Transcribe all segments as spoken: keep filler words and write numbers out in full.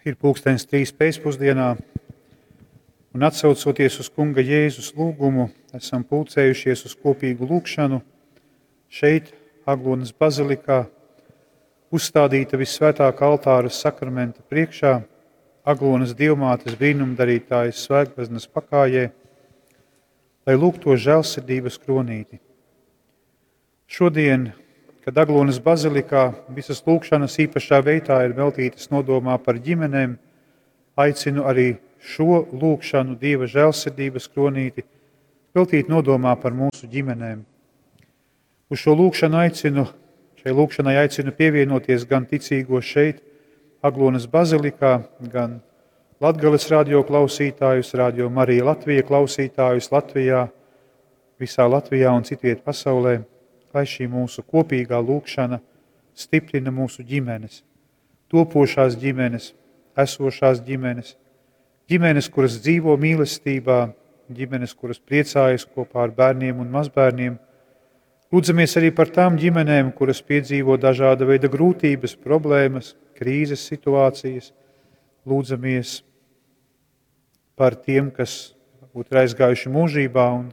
Ir pulkstens trīs pēcpusdienā, un atsaucoties uz Kunga Jēzus lūgumu, esam pulcējušies uz kopīgu lūgšanu šeit, Aglonas bazilikā, uzstādīta Vissvētākā altāra sakramenta priekšā, Aglonas Dievmātes brīnumdarītājas svētgleznas pakājē, lai lūgto žēlsirdības kronīti. Šodien, kad Aglonas bazilikā visas lūgšanas īpašā veidā ir veltītas nodomā par ģimenēm, aicinu arī šo lūgšanu Dieva žēlsirdības kronīti veltīt nodomā par mūsu ģimenēm. Uz šo lūgšanu aicinu, šai lūgšanai aicinu pievienoties gan ticīgo šeit, Aglonas bazilikā, gan Latgales radio klausītājus, Radio Marija Latvija klausītājus Latvijā, visā Latvijā un citviet pasaulē, lai šī mūsu kopīgā lūgšana stiprina mūsu ģimenes, topošās ģimenes, esošās ģimenes, ģimenes, kuras dzīvo mīlestībā, ģimenes, kuras priecājas kopā ar bērniem un mazbērniem. Lūdzamies arī par tām ģimenēm, kuras piedzīvo dažāda veida grūtības, problēmas, krīzes situācijas. Lūdzamies par tiem, kas varbūt ir aizgājuši mūžībā un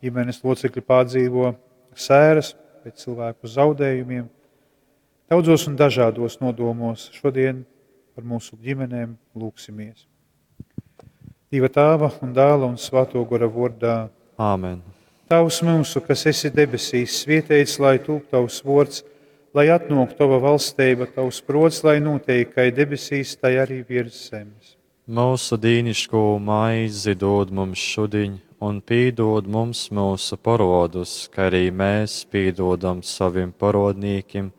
ģimenes locekļi pārdzīvo sēras pēc cilvēku zaudējumiem. Daudzos un dažādos nodomos šodien par mūsu ģimenēm lūgsimies. Dieva Tēva un Dēla un Svēto Gora vārdā. Āmen. Tavs mūsu, kas esi debesīs, svietēts, lai tūp tavs vārds, lai atnāk tava valstība, tavs prots, lai notiek, kai debesīs, tai arī virs zemes. Mūsu dīniško maizi dod mums šodien, un pīdod mums mūsu parodus, kā arī mēs pīdodam saviem parodnīkim,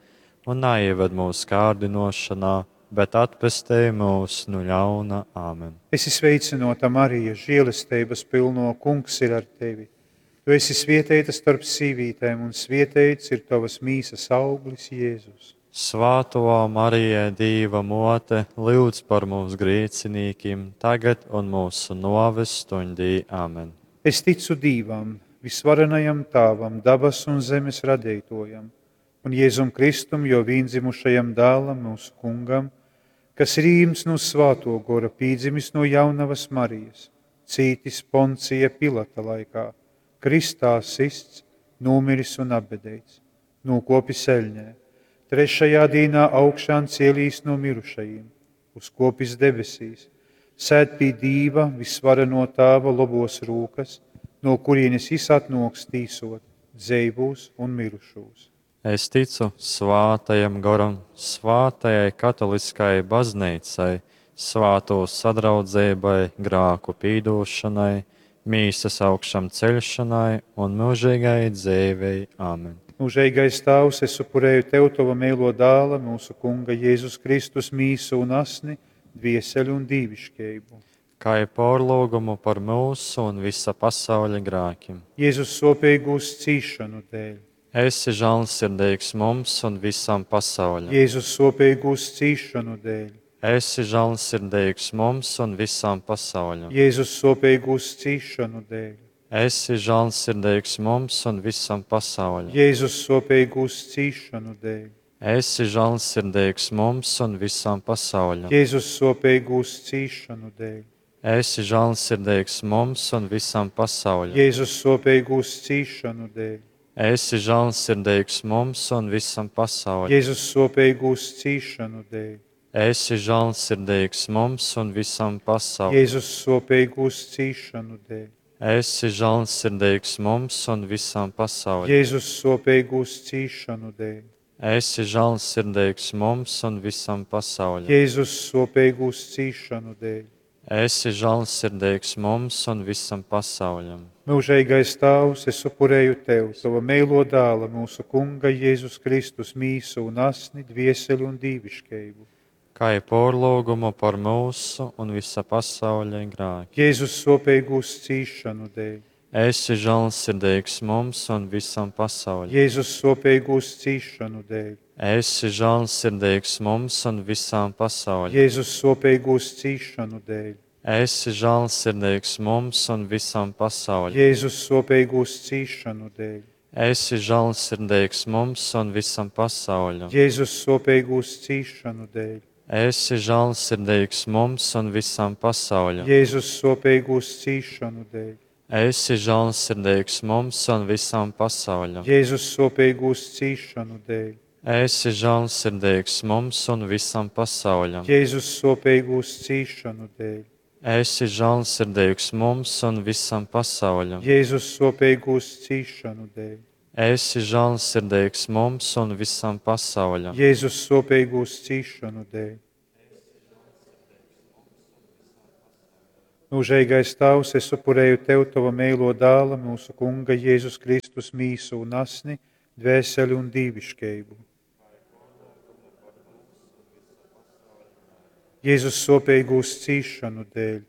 un neieved mūsu kārdinošanā, bet atpestī mūs no ļauna. Āmen. Esi sveicinota, Marija, žēlestības pilno, Kungs ir ar tevi. Tu esi svietēta starp sīvītēm, un svietēts ir tavas mīsas auglis, Jēzus. Svāto Marija, Dīva mote, lūdz par mums grēcinīkim, tagad un mūsu noves stundī. Āmen. Es ticu Dīvam, visvarenajam Tāvam, dabas un zemes radītojam, un Jēzum Kristum, jo viendzimušajam dēlam, mūsu kungam, kas ir īms no Svāto Gora, pīdzimis no jaunavas Marijas, cītis Poncija Pilata laikā, kristā sists, nomiris un apbedīts, nokopis eļņē, trešajā dienā augšām cielīs no mirušajiem, uzkopis debesīs, sēd pie Dīva visvareno Tēva lobos rūkas, no kurienes jis atnoks tīsot dzeivūs un mirušos. Es ticu svātajam goram, svātajai katoliskai baznīcai, svāto sadraudzībai, grāku pīdošanai, mīsas augšām ceļšanai un mūžīgai dzīvei. Āmen. Mūžīgais Tēvs, es upurēju Tev tava mīlo dēla, mūsu Kunga Jēzus Kristus mīsu un asni, dvieseli un dīvišķību. Kā ir porlūgumu par mūsu un visa pasauļa grēkiem. Jēzus sopīgūs cīšanu dēļ. Esi žēlsirdīgs mums un visam pasauļam. Jēzus sopīgūs cīšanu dēļ. Esi žēlsirdīgs mums un visam pasauļam. Jēzus sopīgūs cīšanu dēļ. Esi žēlsirdīgs mums un visam pasauļam. Jēzus sopīgūs cīšanu dēļ. Esi žēlsirdīgs mums un visam pasauļam. Jēzus sopīgūs cīšanu dēļ. Esi žēlsirdīgs mums un visam pasauļam. Jēzus sopīgūs cīšanu dēļ. Esi žēlsirdīgs mums un visam pasauļam. Jēzus sopīgūs cīšanu dēļ. Esi žēlsirdīgs mums un visam pasauļam. Jēzus sopīgūs cīšanu dēļ. Esi žēlsirdīgs mums un visam pasauļam. Jēzus sopīgūs cīšanu dēļ. Esi žēlsirdīgs mums un visam pasauļam. Jēzus sopīgūs cīšanu dēļ. Esi žēlsirdīgs mums un visam pasauļam. Mūžīgais Tēvs, es upurēju Tev, Tava mīlo dēla, mūsu Kunga Jēzus Kristus mīsu un asni, dvieseli un dīvišķību. Kā ir porlūgumu par mūsu un visa pasauļa grēku. Jēzus sopīgūs cīšanu dēļ. Esi žēlsirdīgs mums un visam pasauļam. Jēzus sopīgūs cīšanu dēļ. Esi žēlsirdīgs mums un visam pasauļam. Jēzus sopīgūs cīšanu dēļ. Esi žēlsirdīgs mums un visam pasauļam. Jēzus sopīgūs cīšanu dēļ. Esi žēlsirdīgs mums un visam pasauļam. Jēzus sopīgūs cīšanu dēļ. Esi žālsirdīgs mums un visam pasauļam. Jēzus sopīgūs cīšanu dēļ. Esi žēlsirdīgs mums un visam pasauļam. Jēzus sopīgūs cīšanu dēļ. Esi žēlsirdīgs mums un visam pasauļam. Jēzus sopīgūs cīšanu dēļ. Esi žēlsirdīgs mums un visam pasauļam. Jēzus sopīgūs cīšanu dēļ. Esi žēlsirdīgs mums un visam pasauļam. Jēzus sopīgūs cīšanu dēļ. Mūžīgais Tēvs, es upurēju Tev Tava meilo dēla, mūsu Kunga Jēzus Kristus mīsu un asni, dvēseli un dīviškeibu. Jēzus sopīgūs cīšanu dēļ.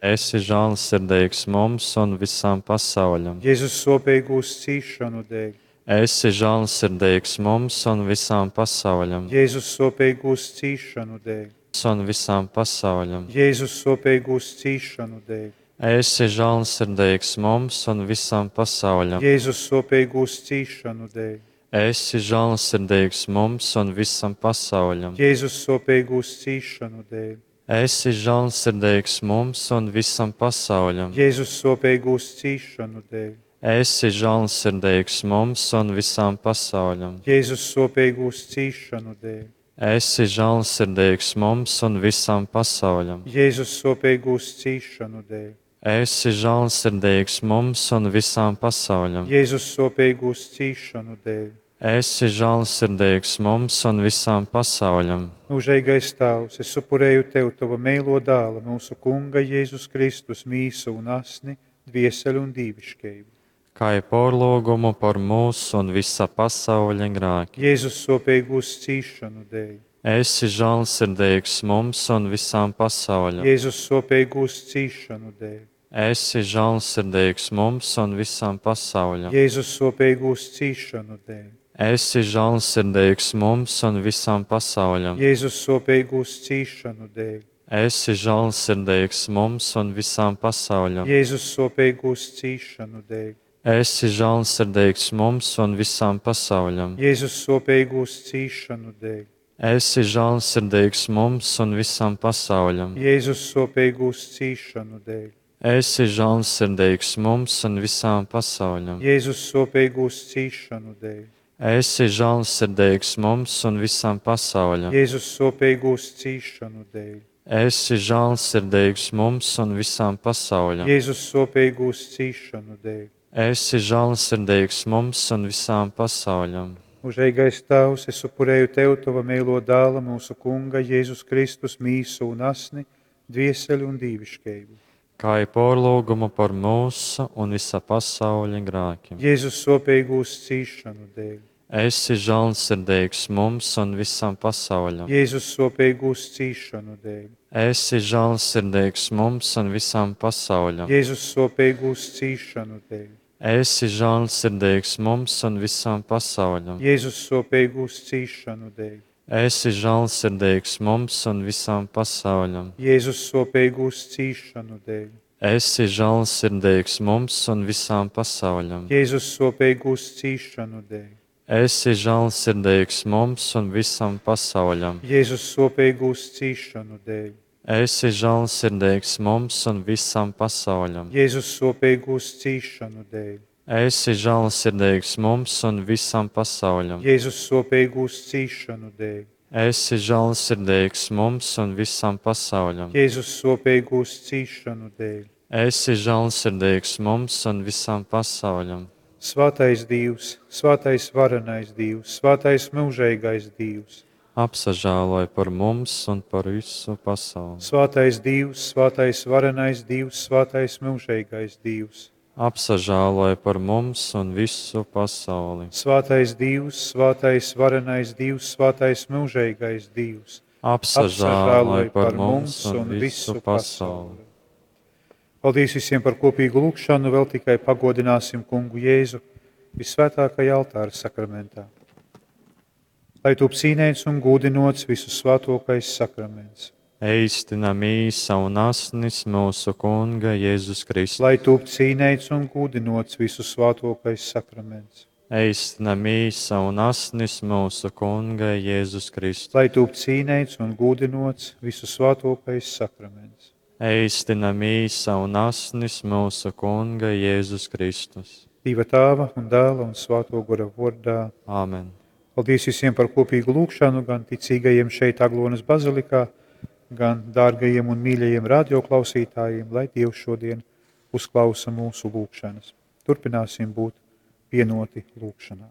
Esi žēlsirdīgs mums un visam pasauļam. Jēzus sopīgūs cīšanu dēļ. Esi žēlsirdīgs mums un visam pasauļam. Jēzus sopīgūs cīšanu dēļ. Un visam pasauļam. Jēzus sopīgūs cīšanu dēļ. Esi žēlsirdīgs mums un visam pasauļam. Jēzus sopīgūs cīšanu dēļ. Esi žēlsirdīgs mums un visam pasauļam. Jēzus sopīgūs cīšanu dēļ. Esi žēlsirdīgs mums un visam pasauļam. Jēzus sopīgūs cīšanu dēļ. Esi žēlsirdīgs mums un visam pasauļam. Jēzus sopīgūs cīšanu dēļ. Esi žēlsirdīgs mums un visam pasauļam. Jēzus sopīgūs cīšanu dēļ. Esi žēlsirdīgs mums un visam pasauļam. Jēzus sopīgūs cīšanu dēļ. Esi žēlsirdīgs mums un visam pasauļam. Mūžīgais Tēvs, es upurēju Tev Tava meilo dēla, mūsu Kunga Jēzus Kristus mīsu un asni, dvieseli un dīviškeibu. Kā i porlūgumu par mūsu un visa pasauļa grēki. Jēzus sopīgūs cīšanu dēļ. Esi žēlsirdīgs mums un visam pasauļam. Jēzus sopīgūs cīšanu dēļ. Esi žēlsirdīgs mums un visam pasauļam. Jēzus sopīgūs cīšanu dēļ. Esi žēlsirdīgs mums un visam pasauļam. Jēzus sopīgūs cīšanu dēļ. Esi žēlsirdīgs mums un visam pasauļam. Jēzus sopīgūs cīšanu dēļ. Esi žēlsirdīgs mums un visam pasauļam. Jēzus sopīgūs cīšanu dēļ. Esi žēlsirdīgs mums un visam pasauļam. Jēzus sopīgūs cīšanu dēļ. Esi žēlsirdīgs mums un visam pasauļam. Jēzus sopīgūs cīšanu dēļ. Esi žēlsirdīgs mums un visam pasauļam. Jēzus sopīgūs cīšanu dēļ. Esi žēlsirdīgs mums un visam pasauļam. Jēzus sopīgūs cīšanu dēļ. Esi žēlsirdīgs mums un visām pasauļam. Mūžīgais Tēvs, es upurēju Tev Tava meilo dēla, mūsu Kunga Jēzus Kristus mīsu un asni, dvieseli un dīviškeibu. Kā i porlūgumu par mūsu un visa pasauļa grēkiem. Jēzus sopīgūs cīšanu dēļ. Esi žēlsirdīgs mums un visam pasauļam. Jēzus sopīgūs cīšanu dēļ. Esi žēlsirdīgs mums un visam pasauļam. Jēzus sopīgūs cīšanu dēļ. Esi žēlsirdīgs mums un visam pasauļam. Jēzus sopīgūs cīšanu dēļ. Esi žēlsirdīgs mums un visam pasauļam. Jēzus sopīgūs cīšanu dēļ. Esi žēlsirdīgs mums un visam pasauļam. Jēzus sopīgūs cīšanu dēļ. Esi žēlsirdīgs mums un visam pasauļam. Jēzus sopīgūs cīšanu dēļ. Esi žēlsirdīgs mums un visam pasauļam. Jēzus sopīgūs cīšanu dēļ. Esi žēlsirdīgs mums un visam pasauļam. Jēzus sopīgūs cīšanu dēļ. Esi žēlsirdīgs mums un visam pasauļam. Jēzus sopīgūs cīšanu dēļ. Esi žēlsirdīgs mums un visam pasauļam. Svētais Dievs, svētais varenais Dievs, svētais mūžīgais Dievs. Apsažēloj par mums un par visu pasauli. Svētais Dievs, svētais varenais Dievs, svētais mūžīgais Dievs. Apsažēloj par mums un visu pasauli. Svētais Dievs, svētais varenais Dievs, svētais mūžīgais Dievs. Apsažēloj par mums un visu pasauli. Paldies visiem par kopīgu lūgšanu, vēl tikai pagodināsim kungu Jēzu visvētākajā altāra sakramentā. Lai top cīnēts un gūdinots visu svētokais sakraments. Eistina mīsa un asnis mūsu Kunga Jēzus Kristus. Lai top cīnēts un gūdinots visu svētokais sakraments. Eistina mīsa un asnis mūsu Kunga Jēzus Kristus. Lai tūp cīneits un gūdinots visu svātōkais sakraments. Eistina mīsa un asnis mūsu Kunga Jēzus Kristus. Dīva Tāva un Dēla un Svāto Gora vārdā. Āmen. Paldies visiem par kopīgu lūgšanu, gan ticīgajiem šeit Aglonas bazilikā, gan dārgajiem un mīļajiem radioklausītājiem, lai Dievs šodien uzklausa mūsu lūgšanas. Turpināsim būt vienoti lūgšanā.